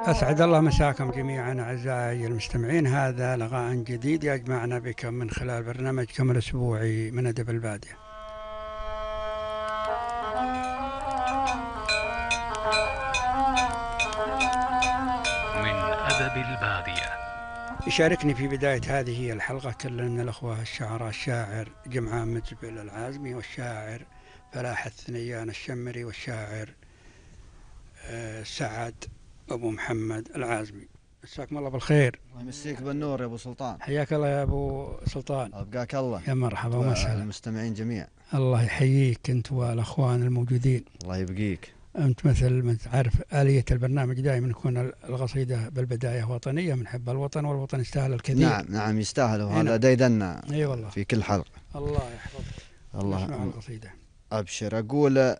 أسعد الله مساكم جميعا أعزائي المستمعين. هذا لقاء جديد يجمعنا بكم من خلال برنامجكم الأسبوعي من أدب البادية. من أدب البادية. يشاركني في بداية هذه الحلقة كل من الأخوة الشعراء الشاعر جمعان متزبل العازمي، والشاعر فلاح الثنيان الشمري، والشاعر سعد أبو محمد العازمي. مساكم الله بالخير. الله يمسيك بالنور يا أبو سلطان. حياك الله يا أبو سلطان. أبقاك الله. يا مرحبا ومسهلا. المستمعين جميعا الله يحييك أنت والأخوان الموجودين. الله يبقيك. أنت مثل ما تعرف آلية البرنامج دائما يكون القصيدة بالبداية وطنية من حب الوطن، والوطن يستاهل الكثير. نعم يستاهل، وهذا ديدنا والله في كل حلقة. الله يحفظك. الله نسمع القصيدة. أبشر. أقول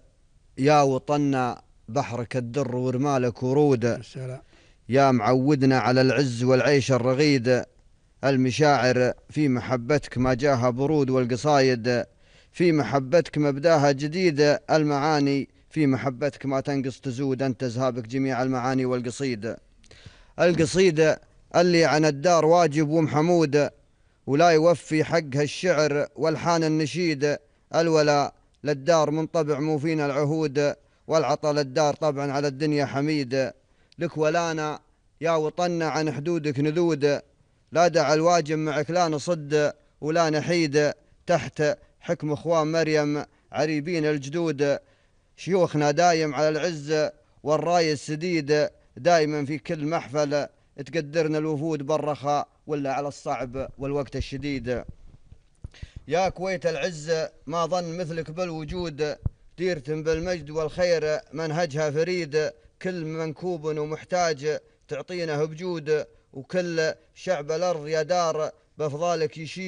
يا وطننا بحرك الدر ورمالك ورود، السلام. يا معودنا على العز والعيش الرغيد، المشاعر في محبتك ما جاها برود، والقصايد في محبتك مبداها جديد، المعاني في محبتك ما تنقص تزود، أنت زهابك جميع المعاني والقصيد. القصيد اللي عن الدار واجب ومحمود، ولا يوفي حقها الشعر والحان النشيد، الولاء للدار من طبع مو فينا العهود، والعطى للدار طبعا على الدنيا حميد. لك ولانا يا وطننا عن حدودك نذود، لا دع الواجب معك لا نصد ولا نحيد، تحت حكم اخوان مريم عريبين الجدود، شيوخنا دايم على العز والراي السديد، دائما في كل محفل تقدرنا الوفود بالرخاء ولا على الصعب والوقت الشديد. يا كويت العز ما ظن مثلك بالوجود، ديرتم بالمجد والخير منهجها فريد، كل منكوب ومحتاج تعطينه بجود، وكل شعب الأرض يا دار بفضالك يشيد.